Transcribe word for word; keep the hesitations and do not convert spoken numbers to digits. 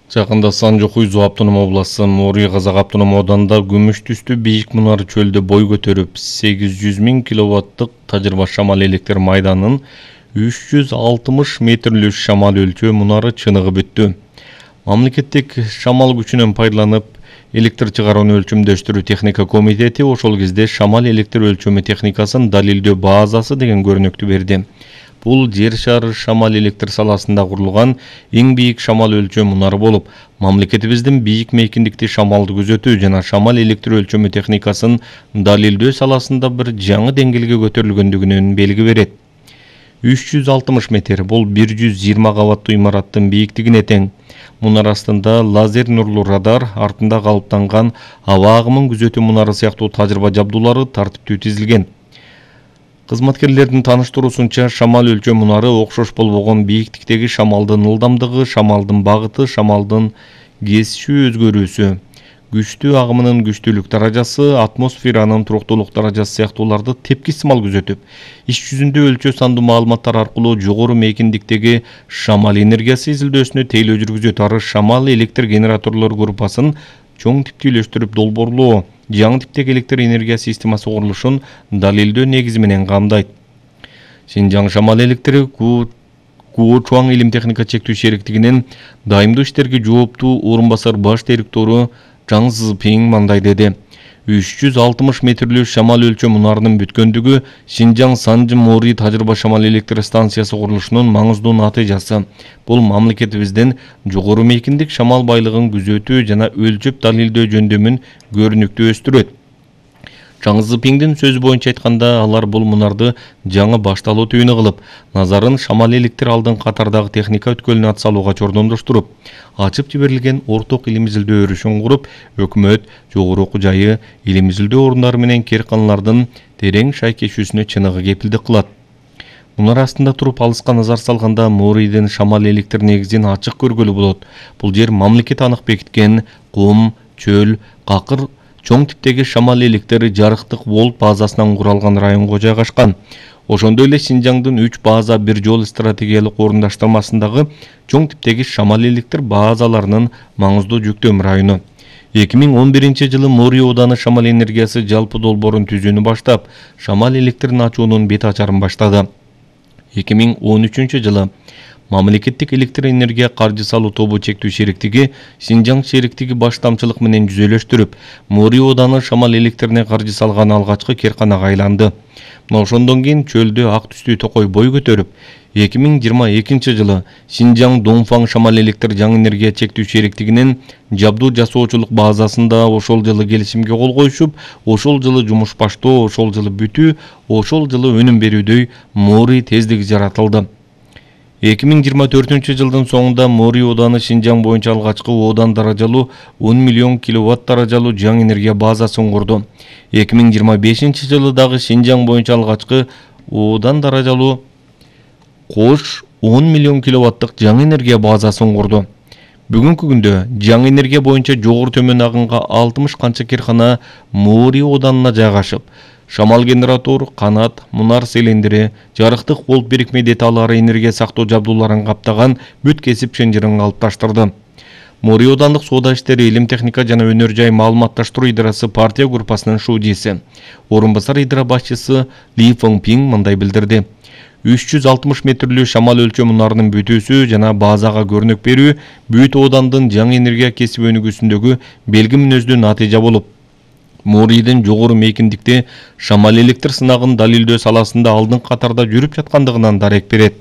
Жакында Санжокуй Автоном областы Мори Казак автоном ауданында күмүш түстүү бийик мунар чөлдө бой көтөрүп, сегиз жүз миң киловаттык тажырба шамал электр майданын үч жүз алтымыш метрлүү шамал өлчөө мунары чыныгып өттү. Мамлекеттик шамал күчүнөн пайдаланып, электр чыгарууну өлчөмдөштүрүү техника комитети ошол кезде шамал электр өлчөмү техникасын далилдөө базасы деген көрүнүктү берди. Бул жер шары шамал электр саласында курулган эң бийик шамал өлчөө мунары болуп, мамлекетибиздин бийик мейкиндикти шамалды күзөтүү жана шамал электр өлчөмү техникасын далилдөө саласында бир жаңы деңгээлге көтөрүлгөндүгүнөн белги берет. үч жүз алтымыш метр бул бир жүз жыйырма кабаттуу имараттын бийиктигине тең. Мунар астында лазер нурлуу радар, артында калыптанган аба агымын күзөтүү мунары сыяктуу тажрыйба жабдуулары тартиптүү тизилген. Кызматкерлердин тааныштыруусунча, шамал өлчөө мунары окшош болбогон бийиктиктеги шамалдын ылдамдыгы, шамалдын багыты, шамалдын кесишүү өзгөрүүсү, күчтүү агымынын күчтүүлүк даражасы, атмосферанын туруктуулук даражасы сыяктууларды тепкисимал күзөтүп, иш жүзүндө өлчөө сандуу маалыматтар аркылуу жогору мейкиндиктеги шамал энергиясы изилдөөсүнө тейлөө жүргүзөт. Ары шамал электр генераторлор группасын чоң типти үйлөштүрүп долбоорлоо, жаңы типтеги электр энергия системасы курулушун далилдөө негизи менен камдайт. Шинжаң шамал электри Куочуаң илим техника чектүү шериктигинин дайымдуу иштерге жооптуу орун басар баш директору Чаң Зыпиң мындай деди. үч жүз алтымыш метрлүү шамал өлчөө мунарынын бүткөндүгү Шинжаң Санжы Мори тажрыйба шамал электр станциясы курулушунун маңыздуу натыйжасы. Бул мамлекетибиздин жогору мейкиндик шамал байлыгын күзөтүү жана өлчөп далилдөө жөндөмүн көрүнүктүү өстүрөт. Чаң Зыпиңдин сөзү боюнча айтканда, алар бул мунарды жаңы башталуу түбүнө кылып, назарын шамал электр алдын катардагы техника өткөлүнө ат салууга чордомдоштуруп, ачып жиберилген орток илим изилдөө өрүшүн куруп, өкмөт, жогору окуу жайы, илим изилдөө орундары менен кээрканалардын терең шайкешүүсүнө чыныгы кепилдик кылат. Мунар астында туруп алыска назар салганда, Морийдин шамал электр негизин ачык көргөлү болот. Бул жер мамлекет анык бекиткен кум, чөл, какыр чоң типтеги шамал электр жарыктык волт базасынан куралган районго жайгашкан. Ошондой эле Шинжаңдын үч база бир жол стратегиялык орундаштырмасындагы чоң типтеги шамал электр базаларынын маңыздуу жүктөм району. эки миң он биринчи жылы Мори ооданы шамал энергиясы жалпы долбоорун түзүүнү баштап, шамал электрин ачуунун бет ачарын баштады. эки миң он үчүнчү жылы Мамлекеттик электр энергия каржы салуу тобу чектүү шериктиги Шинжаң шериктиги баштамчылык менен жүзөлөштүрүп, Мори ооданы шамал электрине каржы салган алгачкы керканага айланды. Мына ошондон кийин чөлдө ак түстүү токой бой көтөрүп, эки миң жыйырма экинчи жылы Шинжаң Доңфаң шамал электр жаңы энергия чектүү шериктигинин жабдуу жасоочулук базасында ошол жылы келишимге кол коюшуп, ошол жылы жумуш баштоо, ошол жылы бүтүү, ошол жылы өнүм берүүдөй Мори тездиги жаратылды. эки миң жыйырма төртүнчү жылдын соңунда Мори ооданы Шинжаң боюнча алгачкы оодан даражалуу он миллион киловатт даражалуу жаңы энергия базасын курду. эки миң жыйырма бешинчи жылы дагы Шинжаң боюнча алгачкы оодан даражалуу кош он миллион киловаттык жаңы энергия базасын курду. Бүгүнкү күндө жаңы энергия боюнча жогору төмөн агынга алтымыш канча керкана Мори ооданына жайгашып, шамал генератор, канат, мунар селендири, жарыктык волт бирикме деталары, энергия сактоо жабдууларын каптаган бүт кесип чынжырын калыпташтырды. Мори оодандык соода иштери, илим техника жана өнөр жай маалыматташтыруу идарасы партия группасынын шуудиси, орун басар идара башчысы Ли Фыңпиң мындай билдирди. үч жүз алтымыш метрлүү шамал өлчөө мунарынын бүтүүсү жана базага көрүнүк берүү бүт оодандын жаңы энергия кесип өнүгүүсүндөгү белги мүнөздүү натыйжа болуп, Морийдин жогору мейкиндикти шамал электр сынагын далилдөө саласында алдын катарда жүрүп жаткандыгынан дарек берет.